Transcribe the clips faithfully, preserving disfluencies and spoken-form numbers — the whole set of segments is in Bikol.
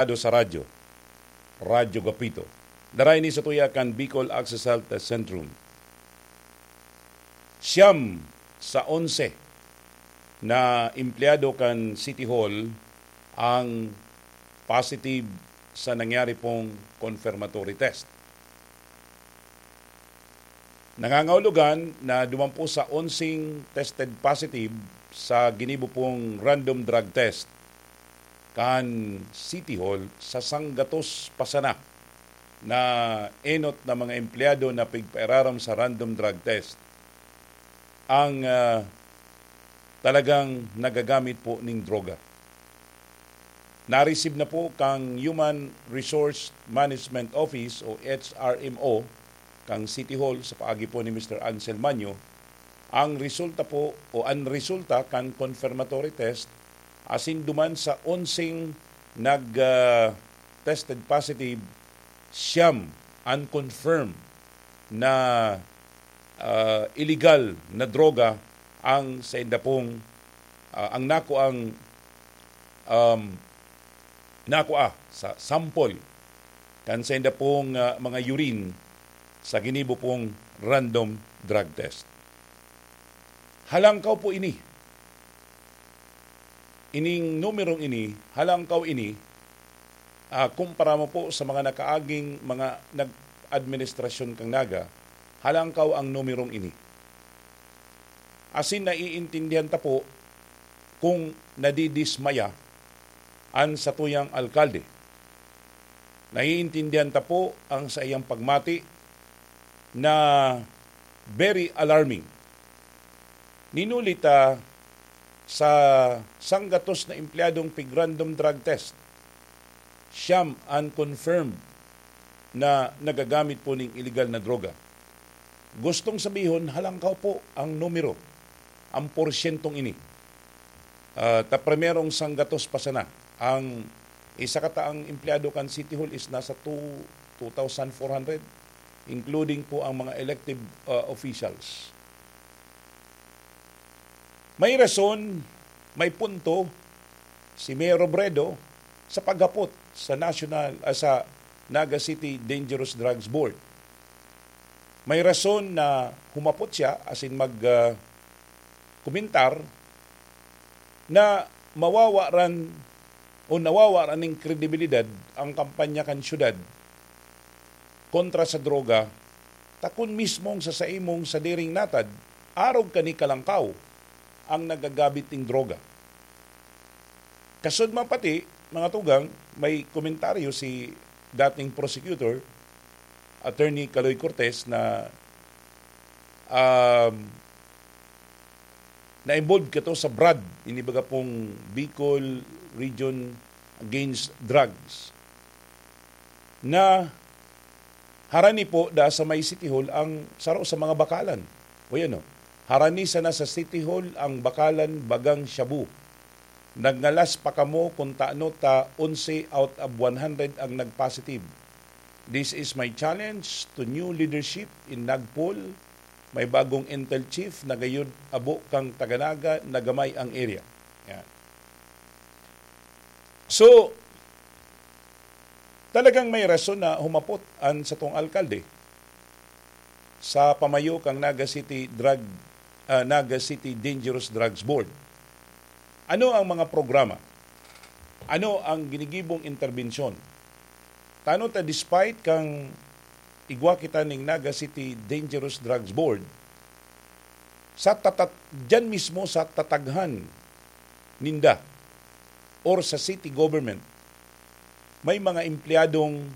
Ado sa radyo, Radyo Gapito. Daray ni sa tuya kan Bicol Access Health Centrum. Siyam sa onse na empleyado kan City Hall ang positive sa nangyari pong confirmatory test. Nangangahulugan na duman po sa onseng tested positive sa ginibo pong random drug test kan City Hall sa sanggatos pa sana na enot na mga empleyado na pigpairarom sa random drug test ang, ah, talagang nagagamit po ning droga. Na-receive na po kang Human Resource Management Office o H R M O kang City Hall sa paagi po ni Mister Ansel Manyo ang resulta po o ang resulta kan confirmatory test asin duman sa onseng nag, ah, tested positive, siyam ang confirmed na, ah, illegal na droga ang sainda pong, ah, ang nakuang, um, nakua sa sample kan sainda pong, ah, mga urine sa ginibo pong random drug test. Halangkaw po ini. Ining numerong ini, halangkaw ini, ah, kumpara mo po sa mga nakaaging mga nag-, administrasyon kan Naga, halangkaw ang numerong ini. Asin naiintindihan ta po kung nadidismaya an satuyang alkalde. Naiintindihan ta po ang saiyang pagmati na very alarming. Ninuli ta sa sanggatos na empleyadong pig-random drug test, siyam an confirmed na nagagamit po ning iligal na droga. Gustong sabihon, halangkaw po ang numero, ang porsyentong ini. Ah, ta primerong sanggatos pa sana. Ang isa kataang empleyado kan City Hall is nasa two, two thousand four hundred, including po ang mga elective, ah, officials. May rason, may punto si Mayor Robredo sa paghapot sa National, ah, sa Naga City Dangerous Drugs Board. May rason na humapot siya asin mag, ah, komentar na mawawaran o nawawaran nin kredibilidad ang kampanya kan syudad kontra sa droga, ta kun mismong sa saimong sadiring natad, arog ka ni kalangkaw ang nagagabit ning droga. Kasudma pati, mga tugang, may komentaryo si dating prosecutor, Attorney Kaloy Cortez, na, um, na-involved kato sa brad, ini baga pong Bicol Region Against Drugs, na harani po da sa may City Hall ang saro sa mga bakalan. O yan, oh. Harani sana sa City Hall ang bakalan bagang shabu. Nagngalas pa kamo kun tano ta onse out of one hundred ang nag-positive. This is my challenge to new leadership in Nagpol. May bagong Intel Chief na gayud abo kang taga-Naga na gamay ang area. Yan. So, talagang may rason na humapot an satong alkalde sa pamayo kan Naga City Drug, ah, Naga City Dangerous Drugs Board. Ano ang mga programa? Ano ang ginigibong interbensyon? Tano ta despite kang igwa kita ning Naga City Dangerous Drugs Board, sa tatat-, diyan mismo sa tataghan ninda or sa city government, may mga empleyadong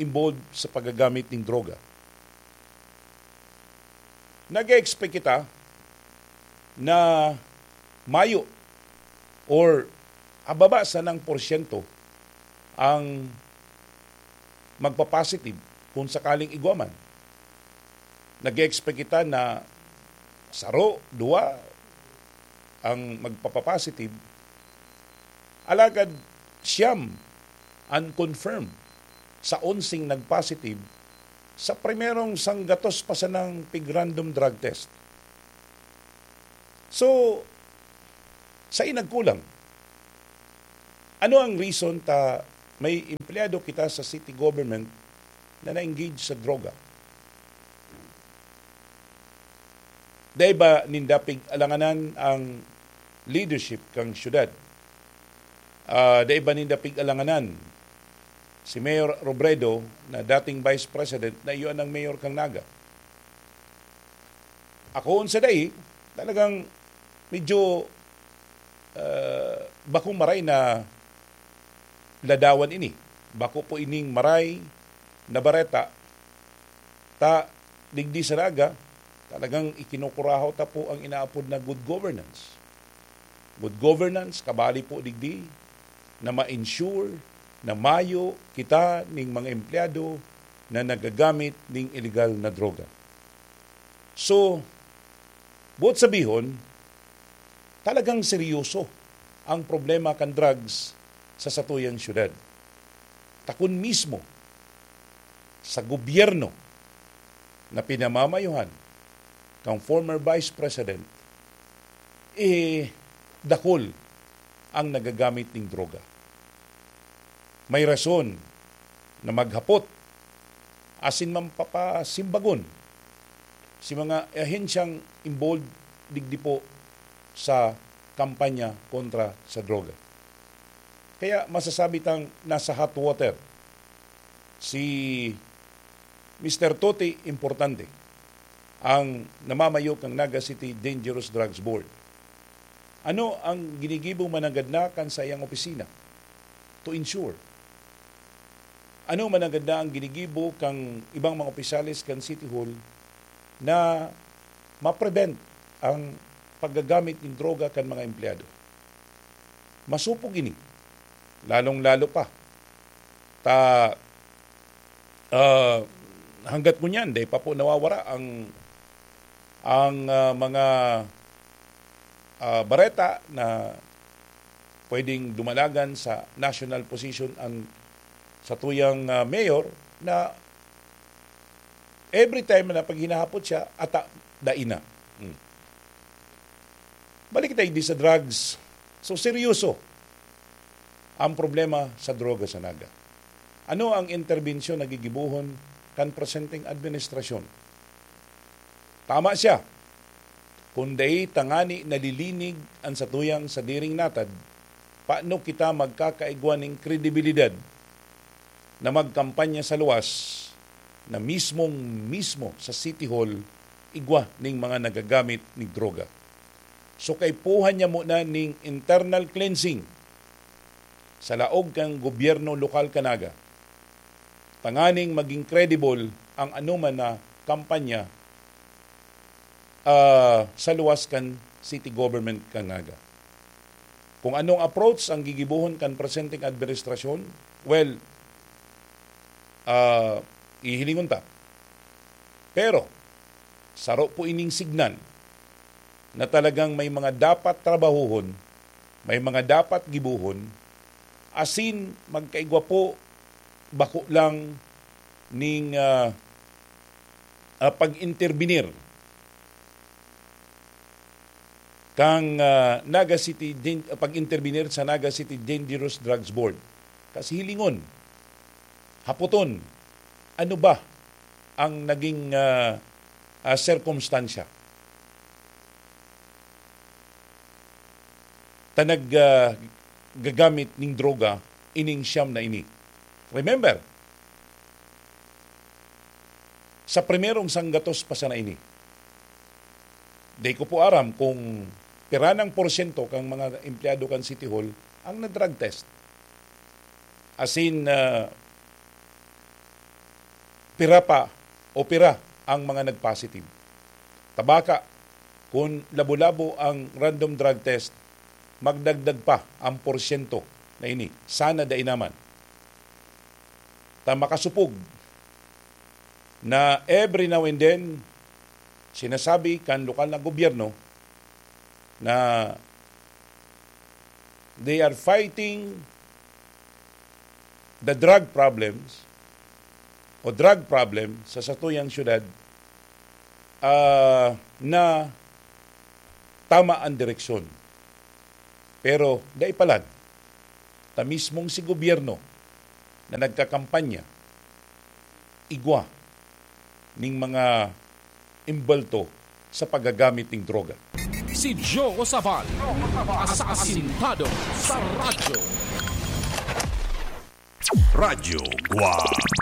involved sa paggagamit ning droga. Nag-expect kita na mayo or ababa sanang porsyento ang magpa-positive kung sakaling igwa man. Nag-expect kita na saro, duwa ang magpapa-positive. Alagad siyam ang confirm sa onseng nag-positive sa primerong sanggatos pa sanang pig-random drug test. So, sa inagkulang, ano ang reason ta May empleyado kita sa city government na na-engage sa droga. Dai ba ninda pig-alanganan ang leadership kan syudad? Ah, dai ba ninda pig-alanganan si Mayor Robredo na dating Vice President na iyo ang mayor kan Naga? Ako, unsa dai, talagang medyo, ah, bakong maray na ladawan ini. Bako po ining maray na bareta, ta digdi sa Naga, talagang ikinukurahaw ta po ang inaapod na good governance. Good governance, kabali po digdi na ma-ensure na mayo kita ning mga empleyado na nagagamit ning illegal na droga. So, buot sabihon, talagang seryoso ang problema kan drugs sa satuyang syudad. Ta kun mismo sa gobyerno na pinamamayuhan kang former Vice President, eh, dakul ang nagagamit ning droga. May rason na maghapot asin mapapasimbagon si mga ahensyang involved digdi po sa kampanya kontra sa droga. Kaya masasabi tang nasa hot water si Mister Toti Importante, ang namamayo kan Naga City Dangerous Drugs Board. Ano ang ginigibo mananggad na kan saiyang opisina to ensure? Ano mananggad na ang ginigibo kan ibang mga opisyales kan City Hall na ma-prevent ang paggagamit nin droga kan mga empleyado? Masupog ini, lalong-lalo pa ta, ah, hanggat ngunyan, dai pa po nawawara ang, ang, ah, mga, ah, bareta na pwedeng dumalagan sa national position ang satuyang, ah, mayor na every time na pag hinahapot siya, ata, dai na. Hmm. Balik tayo di sa drugs. So, seryoso ang problema sa droga sa Naga. Ano ang interbensyon na gigibohon kan presenteng administrasyon? Tama siya. Kun dai tangani nalilinig an satuyang sadiring natad, paano kita magkakaigwa nin kredibilidad na magkampanya sa luwas na mismong mismo sa City Hall igwa ning mga nagagamit ning droga? So, kaipuhan niya muna ning internal cleansing sa laog kan gobyerno lokal kan Naga, tanganing maging credible ang anoman na kampanya, ah, sa luwas kan city government kan Naga. Kung anong approach ang gigibohon kan presenteng administrasyon, well, ah, hihilingon ta. Pero, saro po ining signal na talagang may mga dapat trabahuhon, may mga dapat gibohon, asin magkaigwa po bako lang ning, ah, ah, pag-intervenir kang, ah, Naga City Dan-, pag-intervenir sa Naga City Dangerous Drugs Board. Kasi hilingon, hapoton, ano ba ang naging, ah, ah, sirkumstansya ta nag, ah, gagamit ning droga ining siyam na ini? Remember, sa primerong sanggatos pa sana ini, di ko po aram kung pira nang porsyento kang mga empleyado kan City Hall ang na-drug test. Asin, ah, pira pa o pira ang mga nag-positive. Ta baka, kun labo-labo ang random drug test, magdagdag pa ang porsyento na ini. Sana dai naman. Ta makasupog na every now and then, sinasabi kan lokal na gobyerno na they are fighting the drug problems o drug problem sa satuyang syudad, ah, na tama ang direksyon. Pero dai palan, ta mismong si gobyerno na nagkakampanya igwa ning mga imbalto sa paggagamit ning droga. Si Joe Sabal, asasintado sa radyo. Radyo Guwang.